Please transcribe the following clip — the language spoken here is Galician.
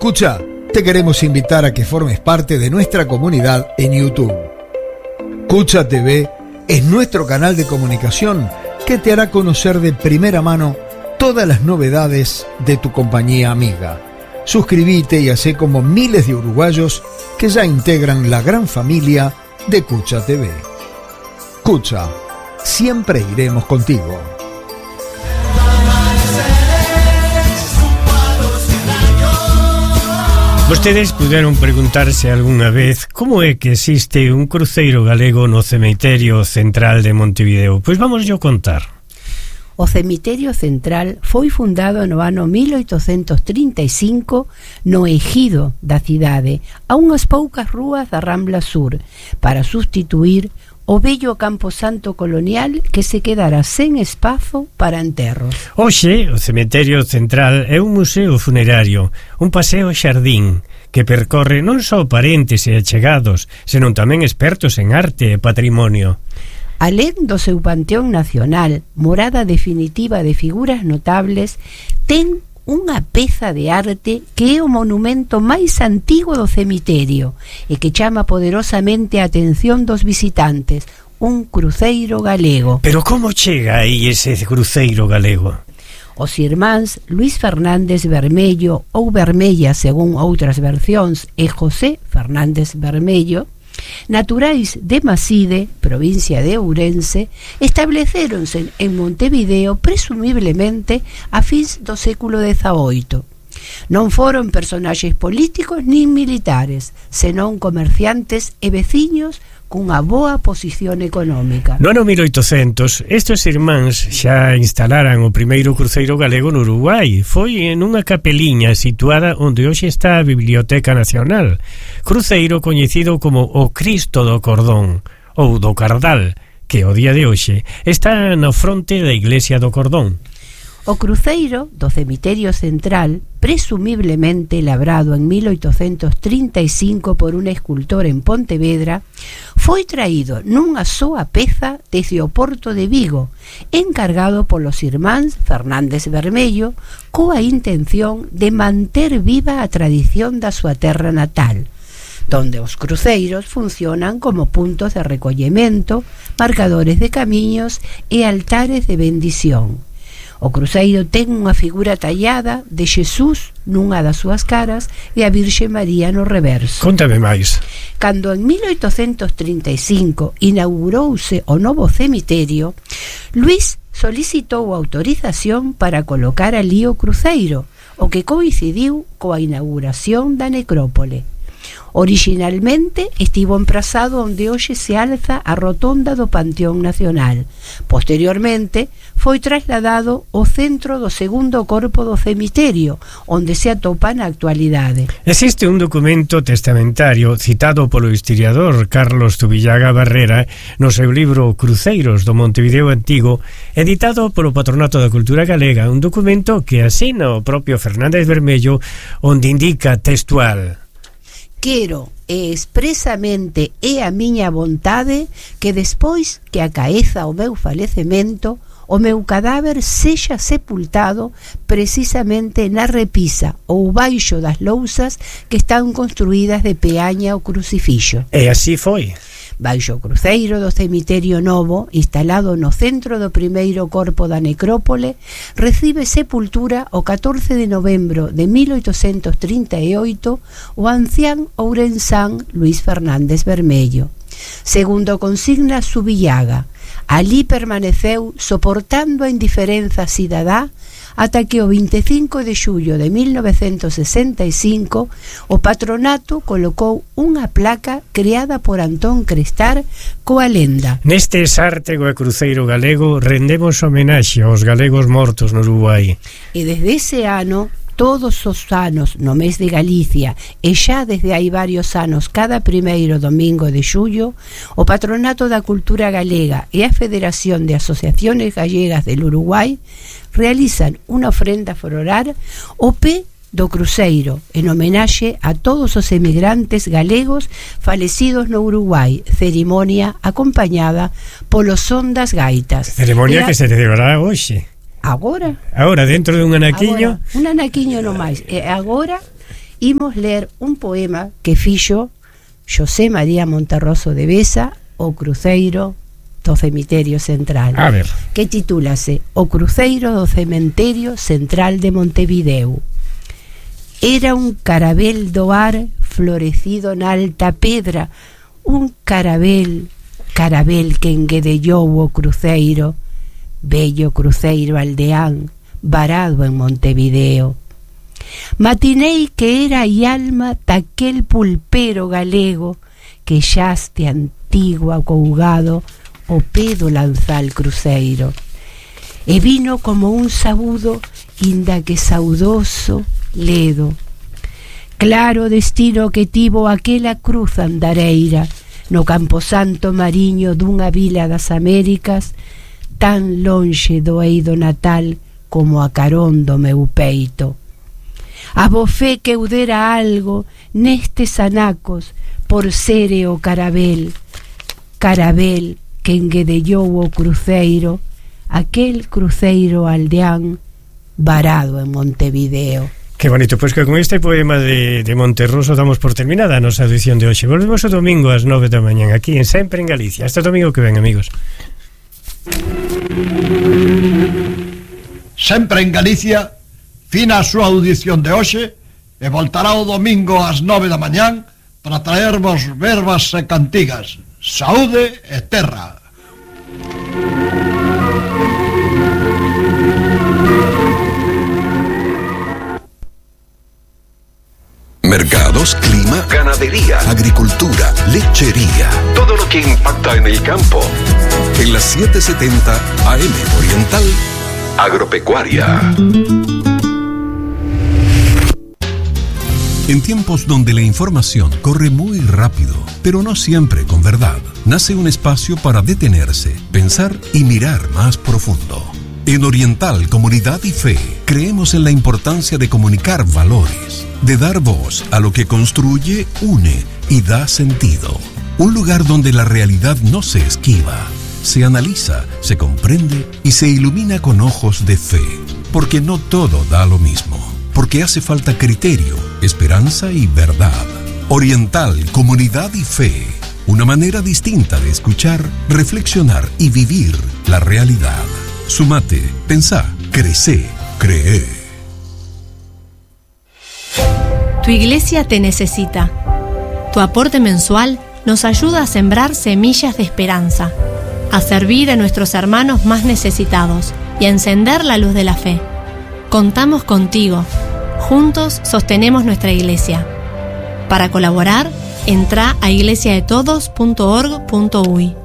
Escucha, te queremos invitar a que formes parte de nuestra comunidad en YouTube. Cucha TV es nuestro canal de comunicación que te hará conocer de primera mano todas las novedades de tu compañía amiga. Suscríbete y hacé como miles de uruguayos que ya integran la gran familia de Cucha TV. Cucha, siempre iremos contigo. Vostedes puderon preguntarse algunha vez como é que existe un cruceiro galego no cemiterio central de Montevideo. Pois vamos yo contar. O cemiterio central foi fundado no ano 1835 no ejido da cidade, a unhas poucas rúas da Rambla Sur, para sustituir o bello camposanto colonial que se quedara sen espazo para enterros. Hoxe, o cemiterio central é un museo funerario, un paseo xardín, que percorre non só parentes e achegados, senón tamén expertos en arte e patrimonio. Alén do seu panteón nacional, morada definitiva de figuras notables, ten unha peza de arte que é o monumento máis antigo do cemiterio e que chama poderosamente a atención dos visitantes, un cruceiro galego. Pero como chega aí ese cruceiro galego? Os irmáns Luis Fernández Vermello ou Vermella, según outras versións, e José Fernández Vermello, naturais de Maside, provincia de Ourense, establecéronse en Montevideo presumiblemente a fins do século XVIII. Non foron personaxes políticos nin militares, senón comerciantes e veciños cunha boa posición económica. No ano 1800, estes irmáns xa instalaran o primeiro cruceiro galego no Uruguai. Foi en unha capeliña situada onde hoxe está a Biblioteca Nacional. Cruceiro coñecido como o Cristo do Cordón, ou do Cardal, que o día de hoxe está na fronte da Iglesia do Cordón. O cruceiro do cemiterio central, presumiblemente labrado en 1835 por un escultor en Pontevedra, foi traído nunha soa peza desde o porto de Vigo, encargado polos irmáns Fernández Vermello, coa intención de manter viva a tradición da súa terra natal, donde os cruceiros funcionan como puntos de recollemento, marcadores de camiños e altares de bendición. O cruceiro ten unha figura tallada de Xesús nunha das súas caras e a Virxe María no reverso. Contame máis. Cando en 1835 inaugurouse o novo cemiterio, Luís solicitou autorización para colocar ali o cruceiro, o que coincidiu coa inauguración da necrópole. Originalmente estivo emprazado onde hoxe se alza a rotonda do Panteón Nacional. Posteriormente foi trasladado ao centro do segundo corpo do cemiterio, onde se atopa na actualidade. Existe un documento testamentario citado polo historiador Carlos Zubillaga Barrera no seu libro Cruceiros do Montevideo Antigo, editado polo Patronato da Cultura Galega, un documento que asina o propio Fernández Vermello, onde indica textual: quero e expresamente é a miña vontade que despois que acaeza o meu falecemento o meu cadáver sexa sepultado precisamente na repisa ou baixo das lousas que están construídas de peaña ou crucifixo. E así foi. Baixo o cruceiro do cemiterio novo, instalado no centro do primeiro corpo da necrópole, recibe sepultura o 14 de novembro de 1838 o ancián ourensán Luis Fernández Vermello. Segundo consigna Zubillaga, alí permaneceu soportando a indiferenza cidadá ata que o 25 de xullo de 1965 o patronato colocou unha placa creada por Antón Crestar coa lenda: neste sártego e cruceiro galego rendemos homenaxe aos galegos mortos no Uruguai. E desde ese ano, todos os anos no mes de Galicia e xa desde hai varios anos cada primeiro domingo de xullo, o Patronato da Cultura Galega e a Federación de Asociaciones Gallegas del Uruguai realizan unha ofrenda floral ao pé do cruceiro en homenaxe a todos os emigrantes galegos falecidos no Uruguai, cerimonia acompañada polos son das gaitas. Ceremonia que se celebrará hoxe. Agora, dentro de un anaquiño. Un anaquiño no máis. E agora imos ler un poema que fixo José María Monterroso de Besa, o cruceiro do Cemiterio Central. A ver. Que titúlase O cruceiro do Cemiterio Central de Montevideo. Era un carabel do ar florecido na alta pedra, un carabel que enguedellou o cruceiro, bello cruceiro aldeán, varado en Montevideo. Matinei que era a alma daquel pulpero galego que xaste antigo acougado o pé do lanzal cruceiro, e vino como un sabudo, inda que saudoso ledo. Claro destino que tivo aquela cruz andareira no camposanto mariño dunha vila das Américas, tan lonxe do eido natal como a carón do meu peito. Abofé que eu dera algo nestes anacos por sere o carabel que enguedellou o cruceiro, aquel cruceiro aldeán varado en Montevideo. Qué bonito, pois que con este poema de Monterroso damos por terminada a nosa edición de hoxe. Volvemos o domingo ás 9 da mañán aquí en Sempre en Galicia. Hasta o domingo que ven, amigos. Sempre en Galicia, fina a súa audición de hoxe, e voltará o domingo ás 9 da mañán para traervos verbas e cantigas. Saúde e terra. Mercados, clima, ganadería, agricultura, lechería. Todo lo que impacta en el campo. En las 770 AM Oriental, Agropecuaria. En tiempos donde la información corre muy rápido, pero no siempre con verdad, nace un espacio para detenerse, pensar y mirar más profundo. En Oriental, Comunidad y Fe, creemos en la importancia de comunicar valores, de dar voz a lo que construye, une y da sentido. Un lugar donde la realidad no se esquiva, se analiza, se comprende y se ilumina con ojos de fe. Porque no todo da lo mismo. Porque hace falta criterio, esperanza y verdad. Oriental, Comunidad y Fe. Una manera distinta de escuchar, reflexionar y vivir la realidad. Sumate, pensá, crecé, cree. Tu iglesia te necesita. Tu aporte mensual nos ayuda a sembrar semillas de esperanza, a servir a nuestros hermanos más necesitados y a encender la luz de la fe. Contamos contigo. Juntos sostenemos nuestra iglesia. Para colaborar, entra a iglesiadetodos.org.uy.